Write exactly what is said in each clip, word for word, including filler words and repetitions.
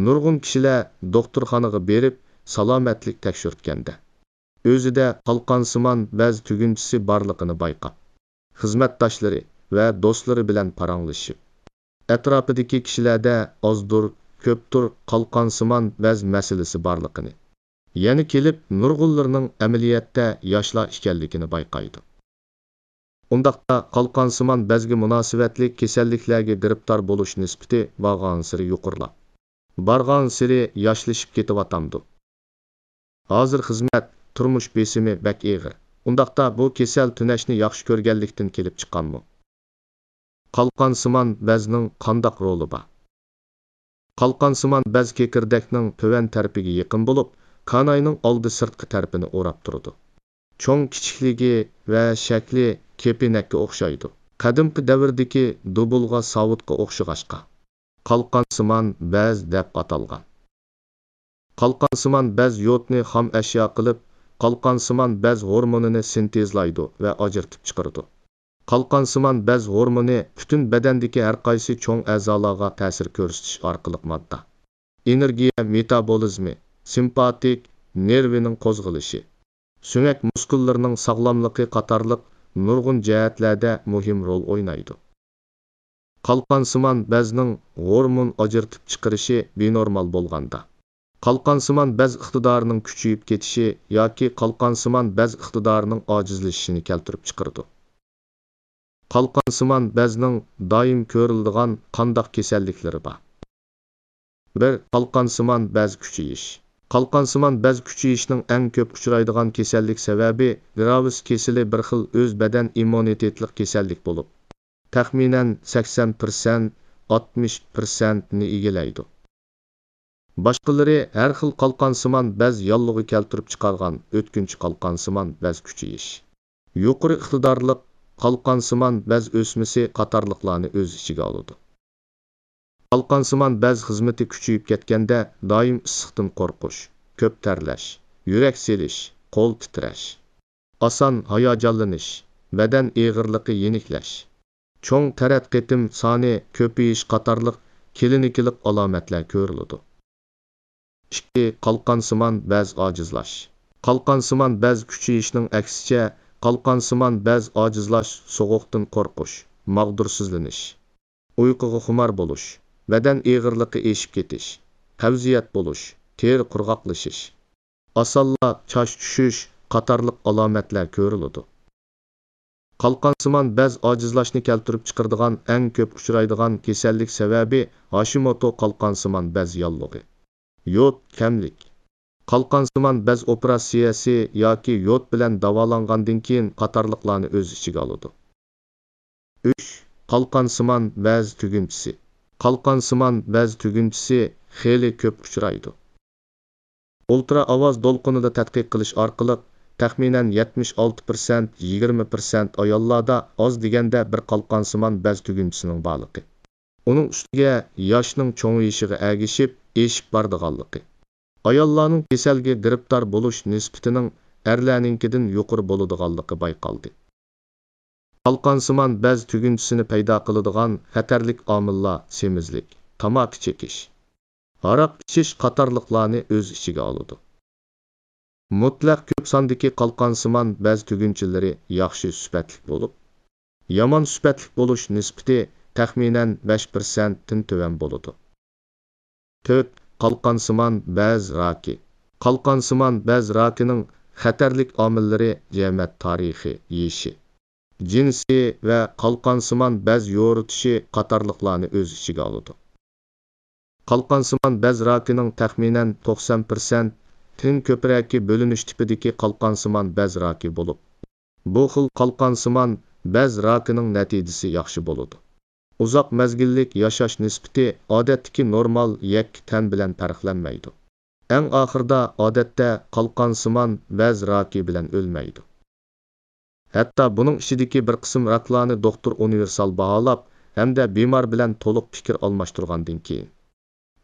نۇرغۇن كىشىلەر دوختۇرخانىغا بېرىپ سالامەتلىك تەكشۈرتكەندە، ئۆزىدە قالقانسىمان بەز تۈگۈنچىسى بارلىقىنى بايقاپ، خىزمەتداشلىرى ۋە دوستلىرى بىلەن پاراڭلىشىپ، ئەتراپىدىكى كىشىلەردە ئازدۇر، كۆپتۇر قالقانسىمان بەز مەسىلىسى بارلىقىنى، يەنە كېلىپ نۇرغۇنلىرىنىڭ ئەمەلىيەتتە ياشلار ئىكەنلىكىنى بايقايدۇ. ئۇنداقتا قالقانسىمان بەزگە مۇناسىۋەتلىك كېسەللىكلەرگە گىرىپتار بولۇش نىسبىتى بارغانسېرى يۇقىرىلاپ، بارغانسېرى ياشلىشىپ كېتىۋاتامدۇ؟ ھازىر خىزمەت، تۇرمۇش بېسىمى بەك ئېغىر. ئۇنداقتا بۇ كېسەل تۈنەشنى ياخشى كۆرگەنلىكتىن كېلىپ چىققانمۇ؟ قالقانسىمان بەزنىڭ قانداق رولى بار؟ قالقانسىمان بەز كېكىردەكنىڭ تۆۋەن تەرىپىگە يېقىن بولۇپ، كاناينىڭ ئالدى سىرتقى تەرىپىنى ئوراپ تۇرىدۇ. چوڭ كىچىكلىكى ۋە شەكلى كېپىنەككە ئوخشايدۇ. قەدىمكى دەۋردىكى دۇبۇلغا ساۋۇتقا ئوخشىغاچقا، قالقانسىمان بەز دەپ ئاتالغان. قالقانسىمان بەز يودنى خام ئەشيا قىلىپ، قالقانسىمان بەز ھورمونىنى سىنتېزلايدۇ ۋە ئاجرىتىپ چىقىرىدۇ. قالقانسىمان بەز ھورمونى پۈتۈن بەدەندىكى ھەرقايسى چوڭ ئەزالارغا تەسىر كۆرسىتىش ئارقىلىق ماددا، ئېنېرگىيە مېتابولىزمى، سىمپاتىك نېرۋىنىڭ قوزغىلىشى، سۆڭەك مۇسكۇللىرىنىڭ ساغلاملىقى قاتارلىق نۇرغۇن جەھەتلەردە مۇھىم رول ئوينايدۇ. قالقانسىمان بەزنىڭ ھورمون ئاجرىتىپ چىقىرىشى بىنورمال بولغاندا، قالقانسىمان بەز ئىقتىدارىنىڭ كۈچىيىپ كېتىشى ياكى قالقانسىمان بەز ئىقتىدارىنىڭ ئاجىزلىشىشىنى كەلتۈرۈپ چىقىرىدۇ. قالقانسىمان بەزنىڭ دائىم كۆرۈلىدىغان قانداق كېسەللىكلىرى بار؟ بىر، قالقانسىمان بەز كۈچىيىش. قالقانسىمان بەز كۈچىيىشنىڭ ئەڭ كۆپ ئۇچرايدىغان كېسەللىك سەۋەبى گراۋىس كېسىلى بىر خىل ئۆز بەدەن ئىممۇنىتېتلىق كېسەللىك بولۇپ، تەخمىنەن سەكسەن پىرسەنت، ئاتمىش پىرسەنتنى ئىگىلەيدۇ. باشقىلىرى ھەر خىل قالقانسىمان بەز ياللۇغى كەلتۈرۈپ چىقارغان ئۆتكۈنچى قالقانسىمان بەز كۈچىيىش. يۇقىرى ئىقتىدارلىق قالقانسىمان بەز ئۆسمىسى قاتارلىقلارنى ئۆز ئىچىگە ئالىدۇ. قالقانسىمان بەز خىزمىتى كۈچىيىپ كەتكەندە، دائىم ئىسسىقتىن قورقۇش، كۆپ تەرلەش، يۈرەك سېلىش، قول تىترەش، ئاسان ھاياجانلىنىش، بەدەن ئېغىرلىقى يېنىكلەش، چوڭ تەرەت قېتىم سانى كۆپىيىش قاتارلىق كلىنىكىلىق ئالامەتلەر كۆرۈلىدۇ. ئىككى، قالقانسىمان بەز ئاجىزلاش. قالقانسىمان بەز كۈچىيىشنىڭ ئەكسىچە، قالقانسىمان بەز ئاجىزلاش، سوغۇقتىن قورقۇش، ماغدۇرسىزلىنىش، ئۇيقۇغا خۇمار بولۇش، بەدەن ئېغىرلىقى ئېشىپ كېتىش، قەۋزىيەت بولۇش، تېرە قۇرغاقلىشىش، ئاسانلا چاچ چۈشۈش قاتارلىق ئالامەتلەر كۆرۈلىدۇ. قالقانسىمان بەز ئاجىزلاشنى كەلتۈرۈپ چىقىرىدىغان ئەڭ كۆپ ئۇچرايدىغان كېسەللىك سەۋەبى ھاشىموتو قالقانسىمان بەز ياللۇغى، يود كەملىك، قالقانسىمان بەز ئوپېراتسىيەسى ياكى يود بىلەن داۋالانغاندىن كېيىن قاتارلىقلارنى ئۆز ئىچىگە ئالىدۇ. ئۈچ، قالقانسىمان بەز تۈگۈنچىسى. قالقانسىمان بەز تۈگۈنچىسى خېلى كۆپ ئۇچرايدۇ. ئۇلترا ئاۋاز دولقۇنىدا تەتقىق قىلىش ئارقىلىق، تەخمىنەن يەتمىش ئالتە پىرسەنت، يىگىرمە پىرسەنت ئاياللاردا ئاز دېگەندە بىر قالقانسىمان بەز تۈگۈنچىسىنىڭ بارلىقى، ئۇنىڭ ئۈستىگە ياشنىڭ چوڭىيىشىغا ئەگىشىپ ئېشىپ بارىدىغانلىقى، ئاياللارنىڭ كېسەلگە گىرىپتار بولۇش نىسبىتىنىڭ ئەرلەرنىڭكىدىن يۇقىرى بولىدىغانلىقى بايقالدى. قالقانسىمان بەز تۈگۈنچىسىنى پەيدا قىلىدىغان خەتەرلىك ئامىللار سېمىزلىك، تاماكا چېكىش، ھاراق ئىچىش قاتارلىقلارنى ئۆز ئىچىگە ئالىدۇ. مۇتلەق كۆپ ساندىكى قالقانسىمان بەز تۈگۈنچىلىرى ياخشى سۈپەتلىك بولۇپ، يامان سۈپەتلىك بولۇش نىسبىتى تەخمىنەن بەش پىرسەنتتىن تۆۋەن بولىدۇ. تۆت، قالقانسىمان بەز راكى. قالقانسىمان بەز راكىنىڭ خەتەرلىك ئامىللىرى جەمەت تارىخى، يېشى، جىنسى ۋە قالقانسىمان بەز يورۇتۇشى قاتارلىقلارنى ئۆز ئىچىگە ئالىدۇ. قالقانسىمان بەز راكىنىڭ تەخمىنەن توقسان پىرسەنتتىن كۆپرەكى بۆلۈنۈش تىپىدىكى قالقانسىمان بەز راكى بولۇپ، بۇ خىل قالقانسىمان بەز راكىنىڭ نەتىجىسى ياخشى بولىدۇ. ئۇزاق مەزگىللىك ياشاش نىسبىتى ئادەتتىكى نورمال يەككە تەن بىلەن پەرقلەنمەيدۇ. ئەڭ ئاخىرىدا ئادەتتە قالقانسىمان بەز راكى بىلەن ئۆلمەيدۇ. ھەتتا بۇنىڭ ئىچىدىكى بىر قىسىم راكلارنى دوختۇر ئۇنىۋېرسال باھالاپ ھەمدە بىمار بىلەن تولۇق پىكىر ئالماشتۇرغاندىن كېيىن،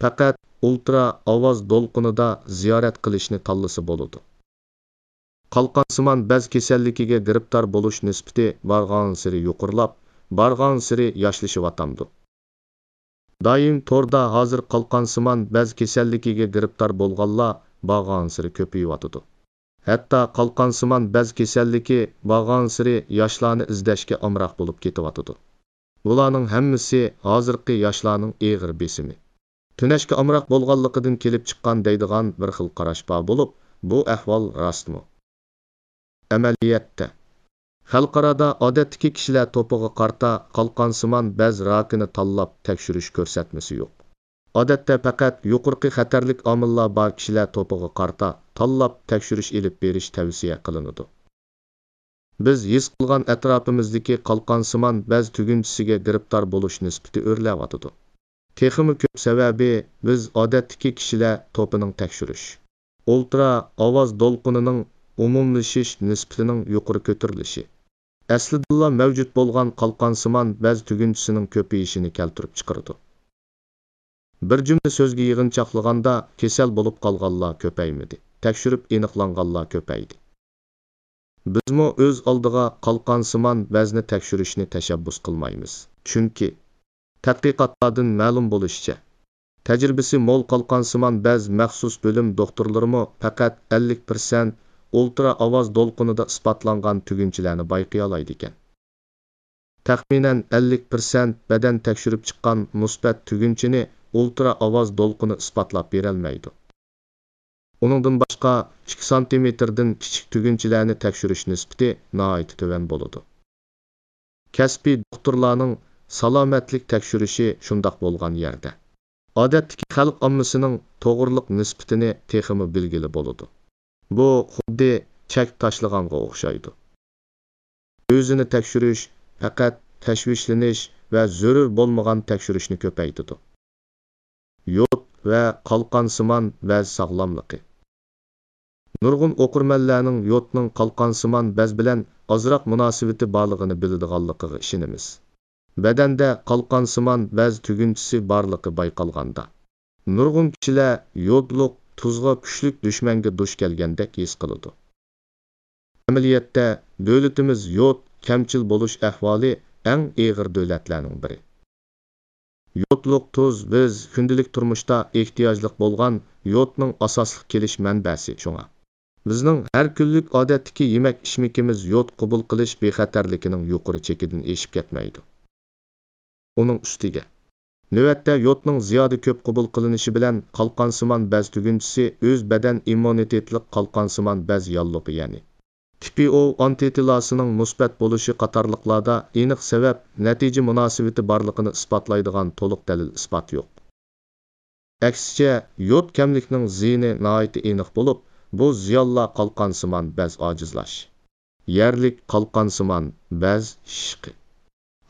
پەقەت ئۇلترا ئاۋاز دولقۇنىدا زىيارەت قىلىشنى تاللىسا بولىدۇ. قالقانسىمان بەز كېسەللىكىگە گىرىپتار بولۇش نىسبىتى بارغانسېرى يۇقىرىلاپ، بارغانسېرى ياشلىشىۋاتامدۇ؟ دائىم توردا ھازىر قالقانسىمان بەز كېسەللىكىگە گىرىپتار بولغانلار بارغانسېرى كۆپىيىۋاتىدۇ. ھەتتا قالقانسىمان بەز كېسەللىكى بارغانسېرى ياشلارنى ئىزدەشكە ئامراق بولۇپ كېتىۋاتىدۇ. بۇلارنىڭ ھەممىسى ھازىرقى ياشلارنىڭ ئېغىر بېسىمى، تۈنەشكە ئامراق بولغانلىقىدىن كېلىپ چىققان دەيدىغان بىر خىل قاراش بار بولۇپ، بۇ ئەھۋال راستمۇ؟ ئەمەلىيەتتە، خەلقئارادا ئادەتتىكى كىشىلەر توپىغا قارىتا قالقانسىمان بەز راكىنى تاللاپ تەكشۈرۈش كۆرسەتمىسى يوق. ئادەتتە پەقەت يۇقىرىقى خەتەرلىك ئامىللار بار كىشىلەر توپىغا قارىتا تاللاپ تەكشۈرۈش ئېلىپ بېرىش تەۋسىيە قىلىنىدۇ. بىز ھېس قىلغان ئەتراپىمىزدىكى قالقانسىمان بەز تۈگۈنچىسىگە گىرىپتار بولۇش نىسبىتى ئۆرلەۋاتىدۇ. تېخىمۇ كۆپ سەۋەبى، بىز ئادەتتىكى كىشىلەر توپىنىڭ تەكشۈرۈش، ئۇلترا ئاۋاز دولقۇنىنىڭ ئومۇملىشىش نىسبىتىنىڭ يۇقىرى كۆتۈرۈلۈشى، ئەسلىدىنلا مەۋجۇت بولغان قالقانسىمان بەز تۈگۈنچىسىنىڭ كۆپىيىشىنى كەلتۈرۈپ چىقىرىدۇ. بىر جۈملە سۆزگە يىغىنچاقلىغاندا، كېسەل بولۇپ قالغانلار كۆپەيمىدى، تەكشۈرۈپ ئېنىقلانغانلار كۆپەيدى. بىزمۇ ئۆز ئالدىغا قالقانسىمان بەزنى تەكشۈرۈشنى تەشەببۇس قىلمايمىز. چۈنكى، تەتقىقاتلاردىن مەلۇم بولۇشىچە، تەجرىبىسى مول قالقانسىمان بەز مەخسۇس بۆلۈم دوختۇرلىرىمۇ پەقەت ئەللىك پىرسەنت ئۇلترا ئاۋاز دولقۇنىدا ئىسپاتلانغان تۈگۈنچىلەرنى بايقىيالايدىكەن. تەخمىنەن ئەللىك پىرسەنت بەدەن تەكشۈرۈپ چىققان مۇسبەت تۈگۈنچىنى ئۇلترا ئاۋاز دولقۇنى ئىسپاتلاپ بېرەلمەيدۇ. ئۇنىڭدىن باشقا، ئىككى سانتىمېتىردىن كىچىك تۈگۈنچىلەرنى تەكشۈرۈش نىسبىتى ناھايىتى تۆۋەن بولىدۇ. كەسپىي دوختۇرلارنىڭ سالامەتلىك تەكشۈرۈشى شۇنداق بولغان يەردە، ئادەتتىكى خەلق ئاممىسىنىڭ توغرىلىق نىسبىتىنى تېخىمۇ بىلگىلى بولىدۇ. بۇ خۇددى چەك تاشلىغانغا ئوخشايدۇ. ئۆزىنى تەكشۈرۈش پەقەت تەشۋىشلىنىش ۋە زۆرۈر بولمىغان تەكشۈرۈشنى كۆپەيتىدۇ. يود ۋە قالقانسىمان بەز ساغلاملىقى. نۇرغۇن ئوقۇرمەنلەرنىڭ يودنىڭ قالقانسىمان بەز بىلەن ئازراق مۇناسىۋىتى بارلىقىنى بىلىدىغانلىقىغا ئىشىنىمىز. بەدەندە قالقانسىمان بەز تۈگۈنچىسى بارلىقى بايقالغاندا، نۇرغۇن كىشىلەر يودلۇق تۇزغا كۈچلۈك دۈشمەنگە دۇچ كەلگەندەك ھېس قىلىدۇ. ئەمەلىيەتتە، دۆلىتىمىز يود كەمچىل بولۇش ئەھۋالى ئەڭ ئېغىر دۆلەتلەرنىڭ بىرى. يودلۇق تۇز بىز كۈندىلىك تۇرمۇشتا ئېھتىياجلىق بولغان يودنىڭ ئاساسلىق كېلىش مەنبەسى، شۇڭا بىزنىڭ ھەر كۈنلۈك ئادەتتىكى يېمەك-ئىچمىكىمىز يود قوبۇل قىلىش بىخەتەرلىكىنىڭ يۇقىرى چېكىدىن ئېشىپ كەتمەيدۇ. ئۇنىڭ ئۈستىگە، نۆۋەتتە يودنىڭ زىيادە كۆپ قوبۇل قىلىنىشى بىلەن قالقانسىمان بەز تۈگۈنچىسى ئۆز بەدەن ئىممۇنىتېتلىق قالقانسىمان بەز ياللۇغى، يەنى تىپى ئو ئانتىتىلاسىنىڭ مۇسبەت بولۇشى قاتارلىقلاردا ئېنىق سەۋەب، نەتىجە مۇناسىۋىتى بارلىقىنى ئىسپاتلايدىغان تولۇق دەلىل-ئىسپات يوق. ئەكسىچە، يود كەملىكنىڭ زىيىنى ناھايىتى ئېنىق بولۇپ، بۇ زىيانلار قالقانسىمان بەز ئاجىزلاش، يەرلىك قالقانسىمان بەز شىشىقى،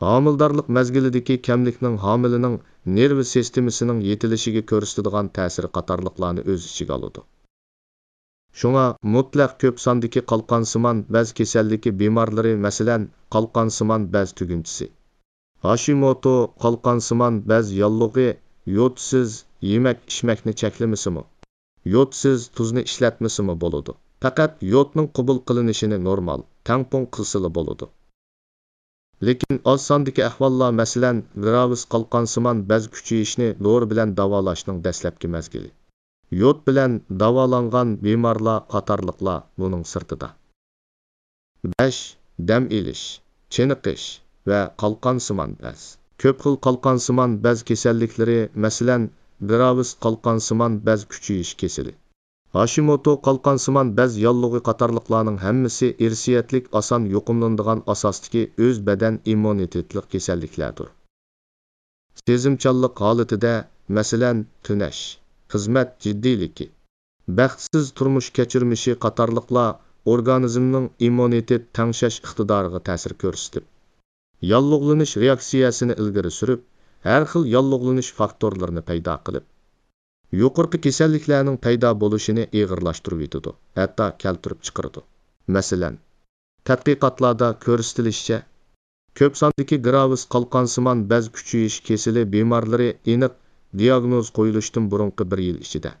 ھامىلىدارلىق مەزگىلىدىكى كەملىكنىڭ ھامىلىنىڭ نېرۋا سىستېمىسىنىڭ يېتىلىشىگە كۆرسىتىدىغان تەسىرى قاتارلىقلارنى ئۆز ئىچىگە ئالىدۇ. شۇڭا مۇتلەق كۆپ ساندىكى قالقانسىمان بەز كېسەللىكى بىمارلىرى، مەسىلەن، قالقانسىمان بەز تۈگۈنچىسى، ھاشىموتو قالقانسىمان بەز ياللۇغى يودسىز يېمەك-ئىچمەكنى چەكلىمىسىمۇ، يودسىز تۇزنى ئىشلەتمىسىمۇ بولىدۇ. پەقەت يودنىڭ قوبۇل قىلىنىشىنى نورمال، تەڭپۇڭ قىلسىلا بولىدۇ. لېكىن ئاز ساندىكى ئەھۋاللار، مەسىلەن، گىراۋىس قالقانسىمان بەز كۈچىيىشنى دورا بىلەن داۋالاشنىڭ دەسلەپكى مەزگىلى، يود بىلەن داۋالانغان بىمارلار قاتارلىقلار بۇنىڭ سىرتىدا. بەش، دەم ئېلىش، چېنىقىش ۋە قالقانسىمان بەز. كۆپ خىل قالقانسىمان بەز كېسەللىكلىرى، مەسىلەن، گىراۋىس قالقانسىمان بەز كۈچىيىش كېسىلى، ھاشىموتو قالقانسىمان بەز ياللۇغى قاتارلىقلارنىڭ ھەممىسى ئىرسىيەتلىك، ئاسان يۇقۇملىنىدىغان ئاساستىكى ئۆز بەدەن ئىممۇنىتېتلىق كېسەللىكلەردۇر. سېزىمچانلىق ھالىتىدە، مەسىلەن، تۈنەش، خىزمەت جىددىيلىكى، بەختسىز تۇرمۇش كەچۈرمىشى قاتارلىقلار ئورگانىزمنىڭ ئىممۇنىتېت تەڭشەش ئىقتىدارىغا تەسىر كۆرسىتىپ، ياللۇغلىنىش رېئاكسىيەسىنى ئىلگىرى سۈرۈپ، ھەر خىل ياللۇغلىنىش فاكتورلىرىنى پەيدا قىلىپ، يۇقىرىقى كېسەللىكلەرنىڭ پەيدا بولۇشىنى ئېغىرلاشتۇرۇۋېتىدۇ، ھەتتا كەلتۈرۈپ چىقىرىدۇ. مەسىلەن، تەتقىقاتلاردا كۆرسىتىلىشىچە، كۆپ ساندىكى گىراۋىس قالقانسىمان بەز كۈچىيىش كېسىلى بىمارلىرى ئېنىق دىياگنوز قويۇلۇشتىن بۇرۇنقى بىر يىل ئىچىدە،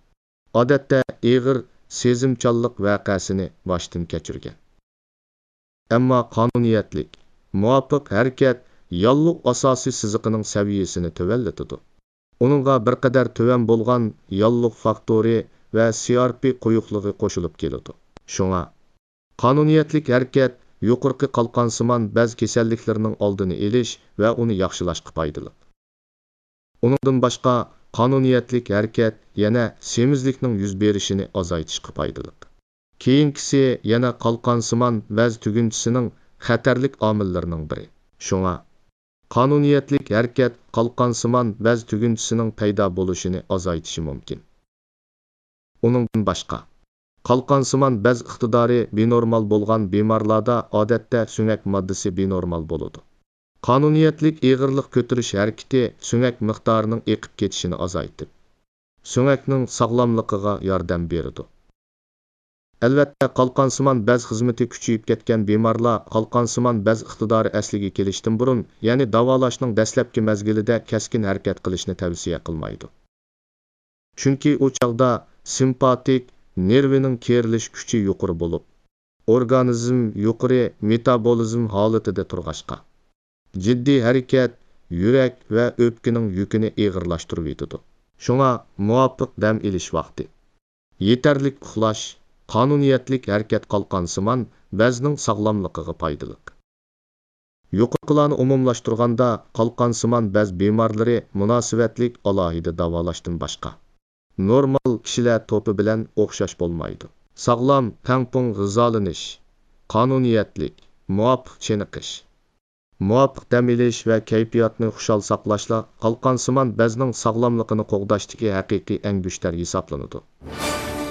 ئادەتتە، ئېغىر سېزىمچانلىق ۋەقەسىنى باشتىن كەچۈرگەن. ئەمما قانۇنىيەتلىك، مۇۋاپىق ھەرىكەت ياللۇغ ئاساسىي سىزىقىنىڭ سەۋىيەسىنى تۆۋەنلىتىدۇ. ئۇنىڭغا بىر قەدەر تۆۋەن بولغان ياللۇغ فاكتورى ۋە سى ئار پى قويۇقلۇقى قوشۇلۇپ كېلىدۇ. شۇڭا، قانۇنىيەتلىك ھەرىكەت يۇقىرىقى قالقانسىمان بەز كېسەللىكلىرىنىڭ ئالدىنى ئېلىش ۋە ئۇنى ياخشىلاشقا پايدىلىق. ئۇنىڭدىن باشقا، قانۇنىيەتلىك ھەرىكەت يەنە سېمىزلىكنىڭ يۈز بېرىشىنى ئازايتىشقا پايدىلىق. كېيىنكىسى يەنە قالقانسىمان بەز تۈگۈنچىسىنىڭ خەتەرلىك ئامىللىرىنىڭ بىرى. شۇڭا، قانۇنىيەتلىك ھەرىكەت قالقانسىمان بەز تۈگۈنچىسىنىڭ پەيدا بولۇشىنى ئازايتىشى مۇمكىن. ئۇنىڭدىن باشقا، قالقانسىمان بەز ئىقتىدارى بىنورمال بولغان بىمارلاردا ئادەتتە سۆڭەك ماددىسى بىنورمال بولىدۇ. قانۇنىيەتلىك ئېغىرلىق كۆتۈرۈش ھەرىكىتى سۆڭەك مىقدارىنىڭ ئېقىپ كېتىشىنى ئازايتىپ، سۆڭەكنىڭ ساغلاملىقىغا ياردەم بېرىدۇ. ئەلۋەتتە، قالقانسىمان بەز خىزمىتى كۈچىيىپ كەتكەن بىمارلار قالقانسىمان بەز ئىقتىدارى ئەسلىگە كېلىشتىن بۇرۇن، يەنى داۋالاشنىڭ دەسلەپكى مەزگىلىدە كەسكىن ھەرىكەت قىلىشنى تەۋسىيە قىلمايدۇ. چۈنكى ئۇ چاغدا سىمپاتىك نېرۋىنىڭ كېرىلىش كۈچى يۇقىرى بولۇپ، ئورگانىزم يۇقىرى مېتابولىزم ھالىتىدە تۇرغاچقا، جىددىي ھەرىكەت يۈرەك ۋە ئۆپكىنىڭ يۈكىنى ئېغىرلاشتۇرۇۋېتىدۇ. شۇڭا مۇۋاپىق دەم ئېلىش ۋاقتى، يېتەرلىك ئۇخلاش، قانۇنىيەتلىك ھەرىكەت قالقانسىمان بەزنىڭ ساغلاملىقىغا پايدىلىق. يۇقىرىقىلارنى ئومۇملاشتۇرغاندا، قالقانسىمان بەز بىمارلىرى مۇناسىۋەتلىك ئالاھىدە داۋالاشتىن باشقا، نورمال كىشىلەر توپى بىلەن ئوخشاش بولمايدۇ. ساغلام، تەڭپۇڭ غىزالىنىش، قانۇنىيەتلىك، مۇۋاپىق چېنىقىش، مۇۋاپىق دەم ئېلىش ۋە كەيپىياتنى خۇشال ساقلاشلا قالقانسىمان بەزنىڭ ساغلاملىقىنى قوغداشتىكى ھەقىقىي ئەڭگۈشتەر ھېسابلىنىدۇ.